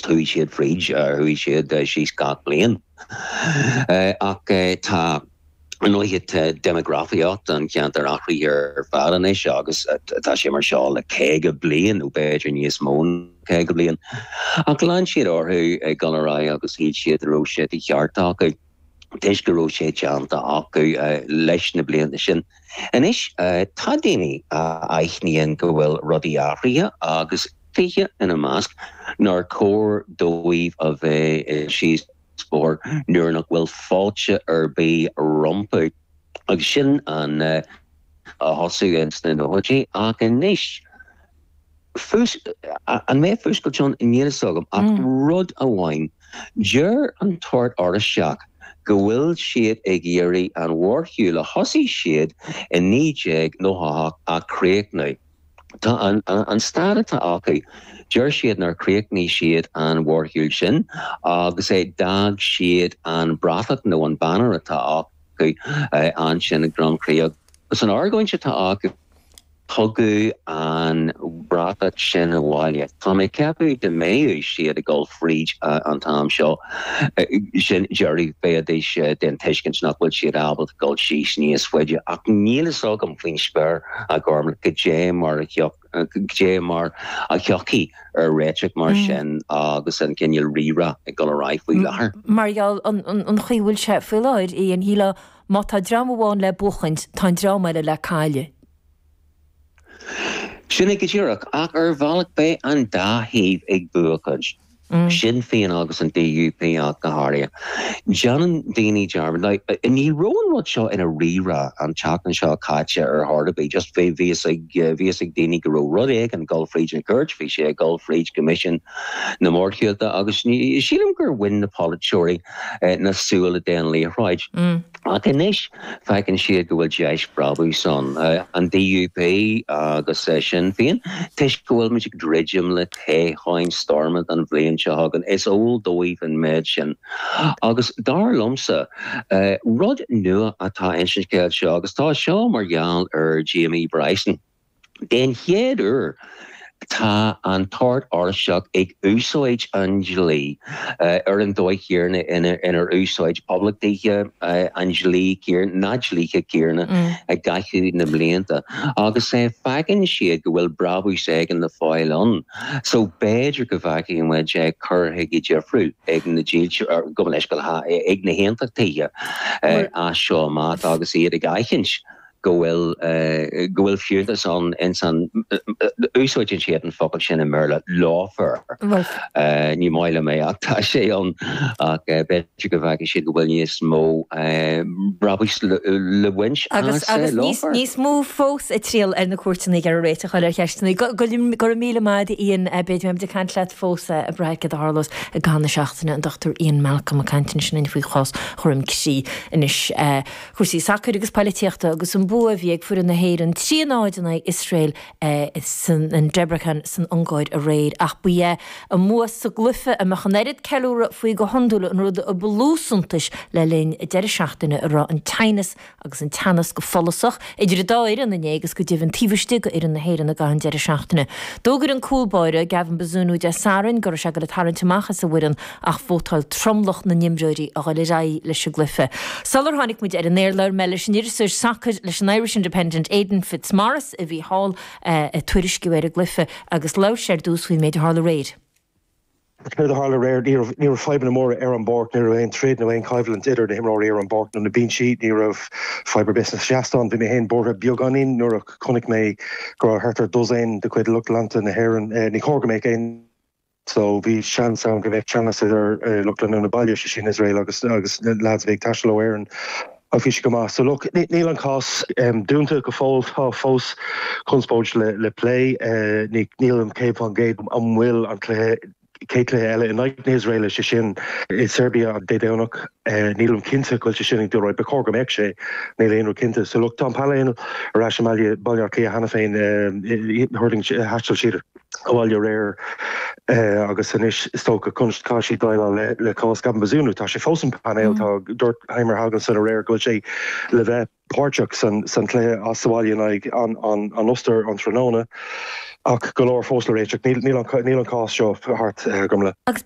Chuaigh siad fríd, chuaigh siad síos gach bliain. Ach tá, ar ndóighe, tá déimeagrafaíocht an cheantair athraithe ar fad anois agus tá sé mar seo le 50 bliain nó b'fhéidir níos mó ná 50 bliain. Ach lean siad orthu ag dul ar aghaidh agus shíl siad go raibh sé de cheart acu toisc go raibh sé déanta acu leis na blianta sin. Anois, tá daoine a aithníonn go bhfuil rudaí athraithe agus. 20 ina measc, nár chóir dóibh a bheith síos bóthar nuair nach bhfuil fáilte ar bith rompu. Agus sin an a thosaigh ins na nóchaidí. Ach anois, an mbeidh fuascailt ann? Níl fhios agam. Ach rud amháin, deir an tOrd Oráisteach go bhfuil siad ag iarraidh an mhórshiúl a thosaigh siad i 1998 a chríochnú. Tá an staid atá acu, deir siad nár chríochnaigh siad an mhórshiúl sin agus d'fhág siad an bratach nó an banner atá acu ansin i gCroim Chrí agus an argóint atá acu, tugadh an bratach sin abhaile. Tá mé ag ceapadh dá mbeadh siad ag dul fríd an t-am seo, sin deireadh, bheidís den tuiscint nach bhfuil siad ábalta dul síos níos faide ach níl fhios agam faoin spéir. a Ghormfhlaith, goidé mar a goidé mar a thiocfaí ar réiteach mar sin agus an cineál rírá ag dul ar aghaidh faoi láthair. Mar gheall an chaoi a bhfuil sé faoi láthair, Ian, shílfeá má tá dream amháin le buachaint, tá an dream eile le cailleadh. Sin é go díreach, ach ar bhealach beidh an dá thaobh ag buachaint. Sinn Féin agus an DUP ach go háirithe. Déanann daoine dearmad. Now, ní raibh an rud seo ina rírá an tseachtain seo caite ar chor ar bith. Just bhí fhios ag, bhí fhios ag daoine go raibh rud éigin ag dul fríd an chúirt, bhí sé ag dul fríd Coimisiún na Mórshiúlta agus sílim gur bhain na polaiteoirí na súile den liathróid. Ach anois feiceann siad go bhfuil deis brabúis ann, an DUP agus Sinn Féin, toisc go bhfuil muid ag druidim le toghcháin Stormont an bhliain seo chugainn. Is eol dóibh an méid sin. Agus dar liomsa, rud nua atá ins an scéal seo, agus tá seo mar gheall ar Jamie Bryson, Den chéad uair, tá an tOrd Oráisteach ag úsáid an dlí ar an dóigh chéanna inar úsáid poblachtaithe an dlí céanna, na dlíthe céanna i gcaitheamh na mblianta agus feiceann siad go bhfuil brabús éigin le fáil ann. So b'fhéidir go bhfeicfidh muid cur chuige difriúil ag na dílseoirí, gabh mo leithscéal, ag na haontachtaithe as seo amach agus iad ag aithint go bhfuil go bhfuil fiúntas ann ins an, úsáideann siad an focal sin i mBéarla, lawfare. Ní maith liom é ach tá sé ann ach b'fhéidir go bhfeicfidh siad go bhfuil níos mó brabúis le baint as lawfare. Agus níos mó fós ag triall ar na cúirteanna ag iarraidh réiteach a fháil ar cheisteanna. Go raibh míle maith agat Ian, beidh muid ag caint leat fós ag brath ar céard a tharlós i gcaitheamh na seachtaine, an Dr Ian Malcolm ag caint ansin faoi chás Dhroim Crí anois. Cúrsaí sacair agus poilitíochta agus an bua a bhí ag foireann na hÉireann 3 0 in aghaidh Iosrael in Debrecen san Ungáir aréir. Ach ba é a mbua sa gcluiche a mbeadh an oiread ceiliúradh faoi go hiondúil an rud a ba lú suntais le linn deireadh seachtaine a raibh an teannas agus an teannas go follasach idir an dá fhoireann inné agus go deimhin taobh istigh d'fhoireann na hÉireann i gcaitheamh an deireadh seachtaine. D'fhógair an cúl báire, Gavin Bazunu Dé Sathairn go raibh sé ag dul ag tarraingt amach as an bhfoireann ach vótáil tromlach na n-imreoirí a dhul ar aghaidh leis an gcluiche. Sular tháinig muid ar an aer labhair mé leis an iriseoir sacair leis an Irish Independent Aidan Fitzmaurice a bhí thall ag tuairisciú ar an gcluiche agus labhair sé ar dtús faoin méid a tharla aréir. Céard a tharla aréir? Ní raibh ní raibh fadhbanna móra ar an bpáirc, ní raibh aon troid nó aon choimhlint idir na himreoirí ar an bpáirc nó na binsí, ní raibh fadhb ar bith sna seastáin. Bhí mé féin buartha beagáinín nuair a chonaic mé go raibh thart ar dosaen de chuid lucht leanta na hÉireann. Ní chóir go mbeadh aon. So bhí seans ann go mbeadh teannas idir lucht leanúna baile, sé sin Iosrael agus agus na lads a bhí ag taisteal ó Éirinn. Ach bhí sé go maith. So look, níl an cás dúnta go fóill, tá fós conspóid le le plé. Ní nílim 100% an bhfuil an cluiche chéad cluiche eile in aghaidh na hIosraeile, sé sin i Serbia Dé Domhnach. Nílim cinnte go bhfuil sé sin ag dul ar aghaidh. Ba chóir go mbeadh sé. Níl aon rud cinnte. So look, tá an painéal ar ais i mBaile Baile Átha Cliath cheana féin. Thuirling, thaistil siad abhaile aréir agus anois is dócha caithfidh siad déileáil le cás Gavin Bazunu. Tá sé fós an painéal. Tá dúirt Heimir Hallgrímsson aréir go bhfuil sé le bheith. páirteach san chluiche as sa bhaile in aghaidh an Ostair an tráthnóna ach go leor fós le réiteach. Níl an cás seo thart, Gormlaith. Agus.